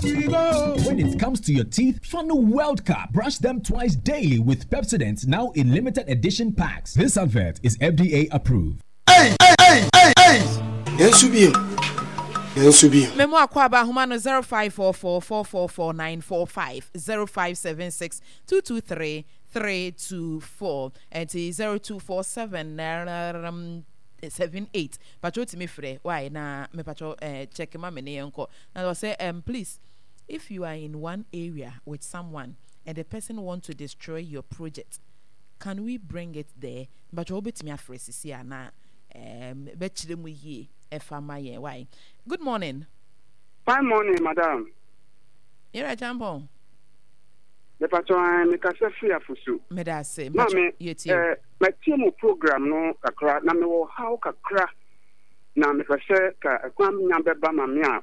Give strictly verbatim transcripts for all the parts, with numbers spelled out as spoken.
We go. When it comes to your teeth, Funnel World Cup. Brush them twice daily with Pepsodent now in limited edition packs. This advert is F D A approved. Hey, hey, hey, hey! Yɛn bio. Yɛn bio. Memo akɔ aba ahoma no zero five four four four four four nine four five, zero five seven six two two three three two four, ɛnti zero two four seven um, seven eight. Patro, timi frɛ why na me patro eh, check ma me ne yɛnkɔ na ɔsɛ um, please, if you are in one area with someone and the person want to destroy your project, can we bring it there? Patro, wobɛtumi afrɛ sisi a na um, bɛkyerɛ mu yie ɛfa ma yɛn. Why, good morning. Fine morning, madam. Yɛrɛ Champɔn. Mepatɔ an mekasa firi Afosu. Meda ase. Maame, yɛtie. eh, matie mu program no kakra na mewɔ haw kakra na mepɛ sɛ ka ɛkwan nya bɛba ma me a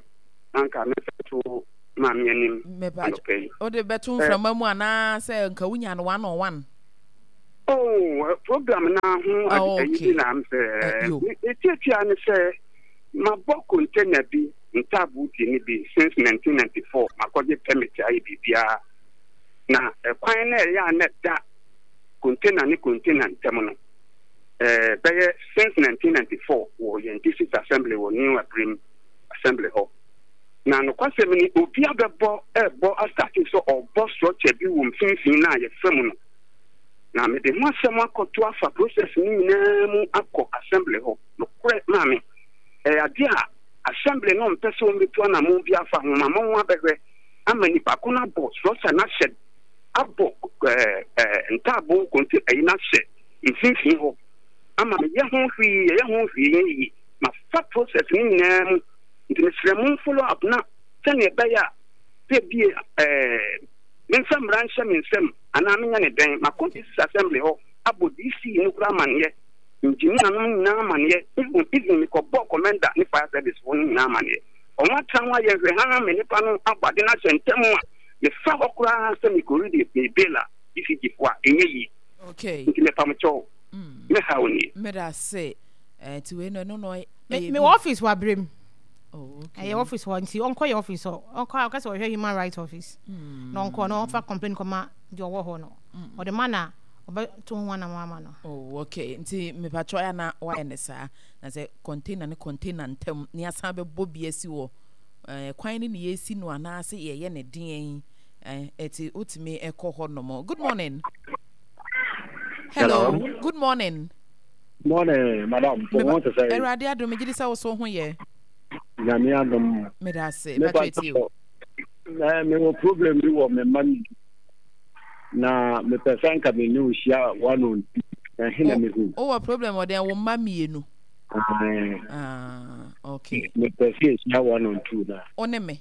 na nka mefɛto maame anim anɔpɛ yi. Wode bɛto mframa mu anaasɛ nka wonya no one on one? Oh, eh, program na ho Oh, ayi okay. bi na m sɛ Eh, yo. metiatia ne sɛ mabɔ container bi ntaaboo di ne bi since nineteen ninety-four. Makɔgye permit ayɛ biribiara na ɛkwan na ɛyɛ a na ɛda container ne container ntam no ɛɛ bɛyɛ since nineteen ninety-four wɔ yɛn district assembly wɔ New Abirem assembly hɔ. Na nokwasɛm ni, obi abɛbɔ ɛɛbɔ astart sɛ ɔbɔ structure bi wɔ mfimfini na yɛfrɛ mu no, na mede ho asɛm akɔto afa process no nyinaa mu akɔ assembly hɔ. Nokorɛ maame, ɛyɛ adeɛ a assembly no mpɛ sɛ wɔmbɛtu anammɔn bi afa ho ma mo ho abɛhwɛ ama nipa ko no abɔ structure no ahyɛ, abɔ ɛɛ ɛɛ ntaaboo konte ɛyi no ahyɛ mfimfini hɔ ama meyɛ ho hwee, yɛyɛ ho hwee yɛ yie. Mafa process no nyinaa mu, nti mesrɛ mo follow up na sɛnea ɛbɛyɛ a sɛ bie ɛɛ memfa mmara nhyɛ me nsam anaa menya ne dɛn. Makɔ district assembly hɔ abɔ D C no kora amanneɛ, engineer no nyinaa amanneɛ, even even mekɔbɔ commander ne fire service foɔ no nyinaa amanneɛ. Ɔmo atena ho ayɛ nhwɛ ha me nipa no abɔ ade no ahyɛ ntɛm a mefa hɔ koraa sɛ mekɔredi me bail a E C G foɔ a ɛnyɛ yie. Okay nti mepam kyɛw, me haw nie. Meda ase. Eh, nti wei no, ɛno no me ɛyɛ me bi. wɔ office wɔ Abrem. Oh, okay. Ɛyɛ office hɔ, nti ɔnkɔ yɛ office hɔ, ɔnkɔ ɔka sɛ ɔhwɛ human rights office na ɔnkɔ na ɔmfa complain kɔma deɛ ɔwɔ hɔ no, ɔde ma na ɔbɛto ho anam ama no. Oh, okay. Nti mepatwɔ ya na wayɛ ne saa na sɛ container ne container ntam ne asan bɛbɔ bi asi wɔ eh, kwan ne ne yɛsi no anaasɛ yɛyɛ ne deɛn eh, ɛti wotumi ɛkɔ hɔ nom. Good morning. Hello. Hello. Good morning. Morning, madam. For Meba- one to say, Awurade adom, megye di sɛ wo so ho yɛ. Nyame adom. Meda ase. Me patwɔ ɛtie o. Eh, me wɔ problem bi wɔ me mma mi. Na mepɛ sɛ nka me ne wo hyia one on two. Na he na mehu. Wowɔ problem wɔ dɛn, wo mma mmienu? Aye. Ah, okay. Mepɛ sɛ yɛhyia one on two na. Wo ne me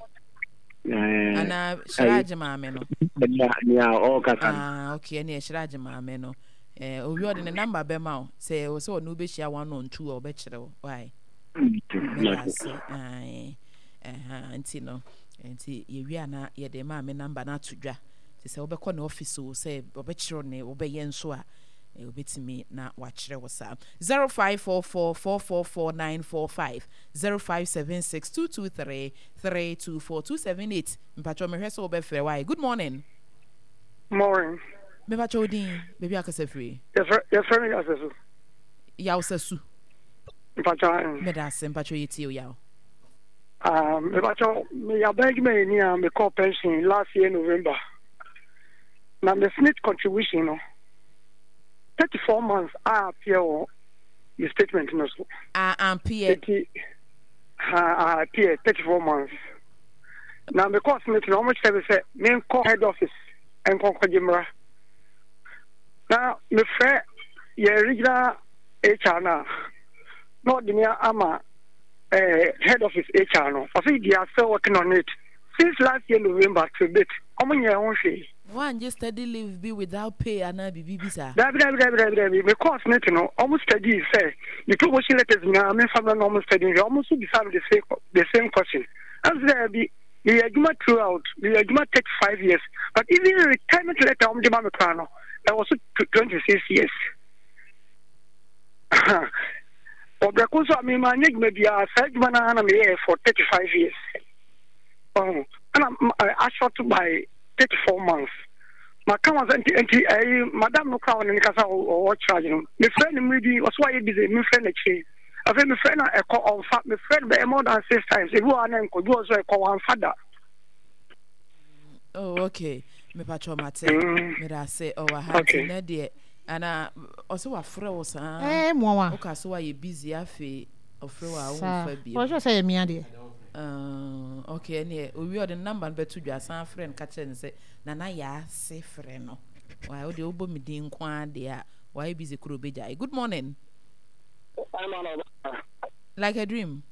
Eh, anaa hyerɛ agye maame no? Nea nea ɔrekasa no. Ah, okay. Ɛne ɛhyerɛ agye maame no. Eh, owi ɔde ne number bɛma wo sɛ ɛwɔ sɛ ɔne wobɛhyia one on two a, ɔbɛkyerɛ wo. Why, meda ase. Ae. Ɛha nti no, nti yɛwie a na yɛde maame number no ato dwa, nti sɛ wobɛkɔ ne office o, sɛ ɔbɛkyerɛw ne wobɛyɛ nso a, eh, wobɛtumi na wakyerɛ wo saa. zero five four four four four four nine four five, zero five seven six two two three three two four two seven eight. Mpatwɔ, mehwɛ sɛ wobɛfrɛ. Why, good morning. Morning. Mepatwɔ, wo din, baabi akasa firi? Yɛfrɛ yɛfrɛ me Yasɛ so. Yaw Sasu. Mpatwɔ. Meda ase. Mpatwɔ, yɛtie o, Yaw. Ah, mepatwɔ, meyɛ aban adwumayɛni a mekɔɔ pension last year November. Na me SSNIT contribution no, thirty-four months a appear wɔ me statement no so. A ampeɛ? Eti ha a appear thirty-four months. Na mekɔɔ SSNIT no, wɔn kyerɛ me sɛ menkɔ head office nkɔnkɔgye mmra. Na mefrɛ yɛ regional H R no a, na ɔde me ama eh, head office H R no. Ɔsɛ they are still working on it. Since last year November to date, ɔmo nyɛ ho hwee. Woangye study leave bi without pay anaa biribi bi saa? Dabi, dabi, dabi, dabi, dabi. Me course ne te no, ɔmo study sɛ me promotion letters nyinaa memfa mmra na ɔmo study nhwɛ. Ɔmo nso bisa me the same the same question. Ɛm sɛ dabi, meyɛ adwuma throughout, meyɛ adwuma thirty five years, but even retirement letter ɔmo de ma me koraa no, ɛwɔ so twenty six years. Ɔbrɛko nso a mema anyɛ adwuma biara, saa adwuma no ara na meyɛɛ for thirty five years. Ɔho. Ɛna ashort by thirty four months. Maka wɔn sɛ nti nti ɛyi madam no kora wɔn ne kasa ɔwɔ charge no. Mefrɛ no mmiri bi ɔso ayɛ busy, mefrɛ no akyire. Afei mefrɛ no ɛkɔ ɔnfa, mefrɛ no bɛyɛ more than six times. Ebi wɔ hɔ a na nkɔ, ebi wɔ so ɛkɔ wɔnfa da. Oh, okay. Mepatwɔ mate. Mm. Meda ase ɔwɔ ha nti Okay. nɛ deɛ ana ɔsɛ wafrɛ wo saa. Ɛɛ mmoawa. Woka so wayɛ busy, afei ɔfrɛ wo a Saa. womfa bio. Ɔhwɛ sɛ yɛ mia deɛ. Uh, okay, ɛneɛ owie ɔde ne number no bɛto dwa, san frɛ no ka kyerɛ no sɛ Nana Yaa se frɛ no. Why wode wobɔ me din nko ara deɛ a wayɛ busy koro bɛgyae. Good morning. Like a dream.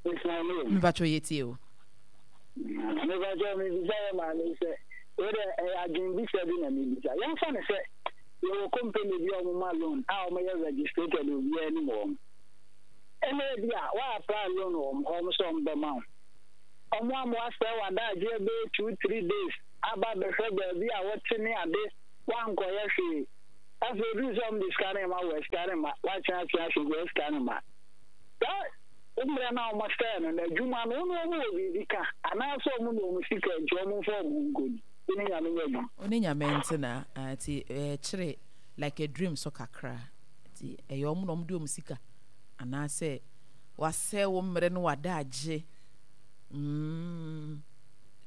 It's my name. Mepakyɛ yɛtie o. Mepakyɛ mebisa yɛ maame sɛ wede ɛyɛ adwenbisa bi na mebisa. Yɛmfa no sɛ yɛwɔ company bi a wɔma loan a wɔyɛ registered, obiara anim wɔn. Ɛna ebi a wɔapply loan wɔ wɔn hɔ, wɔn sɛ wɔn bɛma wo. Wɔn ama wɔasɛe w'adagyeɛ bɛyɛ two three days aba bɛhwɛ baabi a wɔte ne ade, wankɔyɛ hwee. Afei oduru sɛ wɔn de sika no ma wɔ sika no ma wɔatwe atwe ahwɛ bi sika no ma. Saa mmerɛ no a wɔsɛe no na adwuma no, wɔn wɔn wɔ biribi ka anaasɛ wɔn na wɔn sika nti wɔn mfa wɔn ho nkɔdi. Wo ne Nyame nyɛ adwuma. Wo ne Nyame ntena, nti ɛkyere like a dream so kakra. Nti ɛyɛ wɔn na wɔn de wɔn sika anaasɛ wasɛe wo mmerɛ no w'adagye. Mm,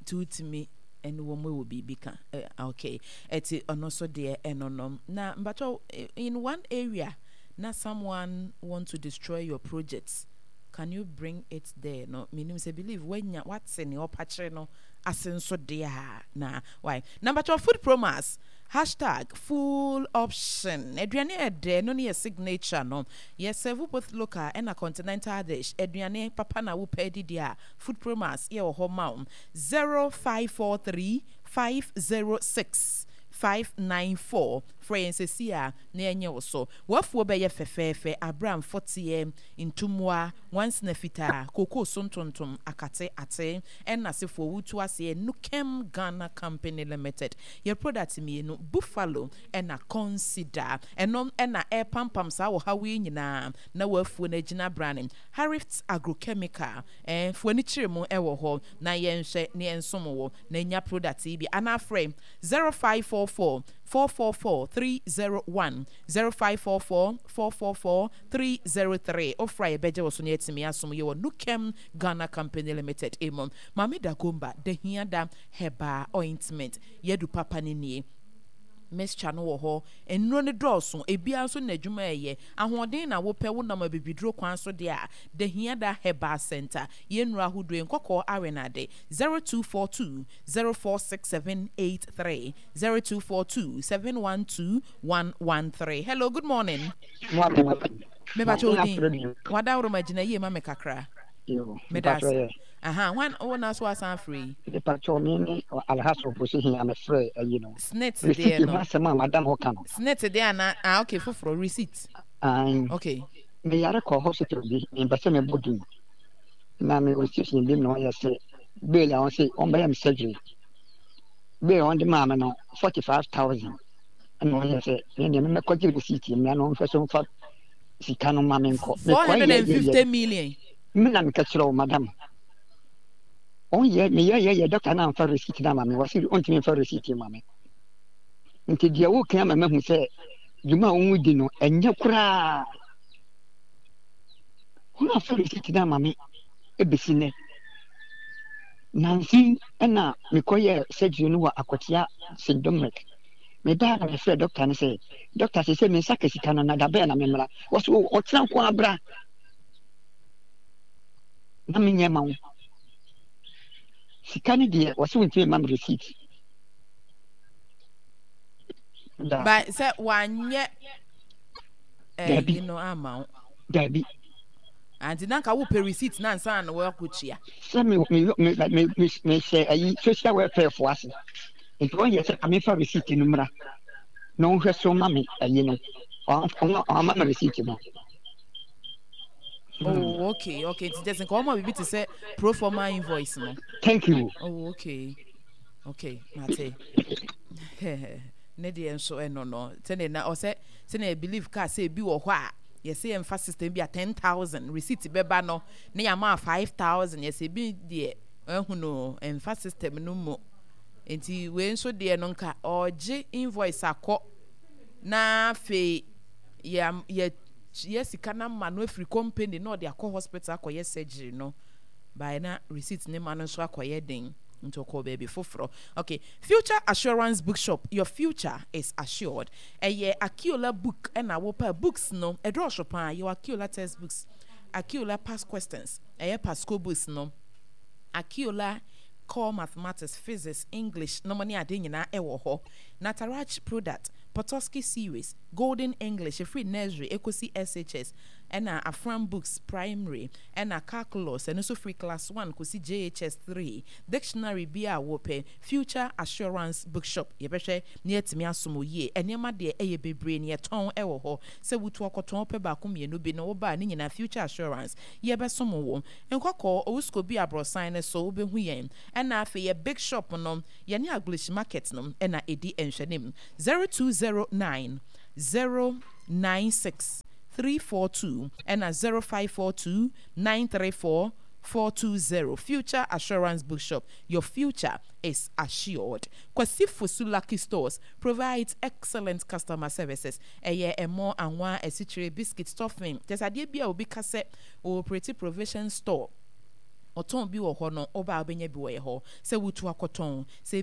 nti wotumi ɛne wɔn wɔ biribi ka. Eh, okay, ɛti ɔno nso deɛ ɛno no. Na mpakyɛw, in one area na someone want to destroy your project, can you bring it there no? Menim sɛ believe wanya wate ne ɔpa kyerɛ no ase nso deɛ a na why. Na mpakyɛw, Food Promas hashtag full option aduane ɛdɛ no ne yɛ signature no. Yɛ serve both local ɛna continental dish. Aduane papa na wopɛ didi a, Food Promas yɛ wɔ hɔ ma wo. Zero five four three five zero six five nine four, frɛ yɛn sɛsi a na yɛnyɛ wo so. Wafuo bɛyɛ fɛfɛɛfɛ abira mfɔteɛ, ntomoa, nwansena fitaa, kookoo so ntontom, akate ate ɛna asefoɔ wotu aseɛ. Nukem Ghana Company Limited, yɛ product mmienu, Buffalo ɛna Consider, ɛno ɛna ɛrepampam saa wɔ haw yi nyinaa na wafuo no agyina brane. Harriet Agrochemical ɛɛ fuo ani kyerɛ mu ɛwɔ hɔ na yɛnhwɛ ne yɛnsom wɔ na nya product yi bi anaa frɛ zero five four four four four four three zero one, zero five four four four four four three zero three. Ofra yɛbɛgye wɔ so ne yɛtumi asom yɛ wɔ Nukem Ghana Company Limited emu. Maame Dagomba Dahiada Herbal Ointment, yɛdu papa ne nie. Mixture no wɔ hɔ, nnuro no dɔɔso, ebiara nso na adwuma ɛyɛ ahoɔden na wopɛ wonam abibiduro kwan so deɛ a, Dahiada Herbal Center, yɛn nnuro ahodoɔ nkɔkɔɔ awenade. zero two four two zero four six seven eight three, zero two four two seven one two one one three. Hello, good morning. Mepakyɛ odin wadaworo ma gyina yie ma me kakra. Meda ase. Aha wan wo na so asan afrɛ yi? Mepakyɛ, me ne Alhassan Fosi hia mefrɛ ayi no. Snit receipt deɛ ho no. Asɛm a madam hɔ ka no. Snit deɛ ana? Ah, okay, foforɔ receipt. Ae. Okay. Meyare kɔ hospital bi, mempɛ sɛ mebɔ din, na mewɔ station bi na ɔyɛ sɛ bill a ɔsɛ ɔmbɛyɛ me surgery. Bill a ɔde maa me no forty five thousand, ɛna ɔyɛ sɛ me deɛ memmɛkɔgye receipt mmra na ɔmfɛ so mfa sika no ma me nkɔ. four hundred and fifty million. Me na meka kyerɛ wo, madam, ɔnyɛ meyɛ yɛ yɛ doctor na amfa receipt no ama me. Wɔse ɔntumi mfa receipt ma me, nti deɛ woka ama mahu sɛ dwuma a wɔn di no ɛnyɛ koraa. Wɔn amfa receipt no ama me ebesi nnɛ. Nansi ɛna mekɔyɛ surgery no wɔ Akwatia Saint Dominic. Mebaa na mefrɛ doctor no sɛ, doctor, sɛ sɛ me nsa ka sika no na da bɛɛ na memmra? Wɔso ɔkyena nko abra na menyɛ ma wo sika no deɛ. Wɔsɛ wontumi ma me receipt da. Ba sɛ wanyɛ Dabi. ɛyi no ama wo? Dabi. Anti na nka wopɛ receipt na ansa na wɔakɔtua? Sɛ me me me me me mehyɛ ayi social welfare fo ase, nti wɔn yɛ sɛ amefa receipt no mmra na ɔnhwɛ so ma me ayi no. Ɔama me receipt no. Oh, okay okay nti kyɛ sɛ nka wɔma biribi te sɛ pro forma invoice no. Thank you. Oh, okay okay mate. Ne deɛ nso ɛno no sɛdeɛ na ɔsɛ sɛdeɛ believe kaa sɛ ebi wɔ hɔ a yɛsɛ yɛmfa system bi a ten thousand receipt bɛba no ne yɛama five thousand, yɛsɛ ebi deɛ Ɛhu ɛnfa system no mu. Nti wei nso deɛ no, nka ɔgye invoice akɔ na afei yɛ yɛ yɛ sika na ma no afiri company na ɔde akɔ hospital akɔyɛ surgery no by na receipt ne ma no nso akɔyɛ den, nti ɔkɔ baabi foforɔ. Okay, Future Assurance Bookshop, your future is assured. Ɛyɛ Akiola book ɛna wɔpa books no ɛdɔɔso paa. Yɛwɔ Akiola textbooks, Akiola past questions, ɛyɛ pasco books no, Akiola Core Mathematics, Physics, English na mo ne ade nyinaa ɛwɔ hɔ. Nataraj product, Potosky series, Golden English efiri nursery ekosi S H S, ɛna Afram Books primary, ɛna calculus, ɛno nso firi class one kosi J H S three, dictionary bi a wɔpɛ, Future Assurance Bookshop, yɛbɛhwɛ ne yɛtumi asom yie. Nneɛma deɛ ɛyɛ bebree ne yɛtɔn ɛwɔ hɔ. Sɛ wotu akɔtɔn pɛ baako mmienu bi na wɔbaa ne nyinaa, Future Assurance yɛbɛsom wɔ Nkɔkɔɔ Owusuko bi aborɔsan no so, wobɛhu yɛn. Ɛna afei yɛ big shop no, yɛne Aglish Market no ɛna ɛdi nhwɛnim. zero two zero nine zero nine six three four two ɛna zero five four two nine three four four two zero. Future Assurance Bookshop, your future is assured. Kwasi Fosu Lucky Stores provides excellent customer services. Ɛyɛ ɛmɔ, anwa, asikyire, biscuit, stuffing, kyɛ sɛ adeɛ bi a obi ka sɛ operate provision store ɔtɔn bi wɔ hɔ no, ɔbaa wobɛnya bi wɔ yɛ hɔ. Sɛ wotu akɔtɔn sɛ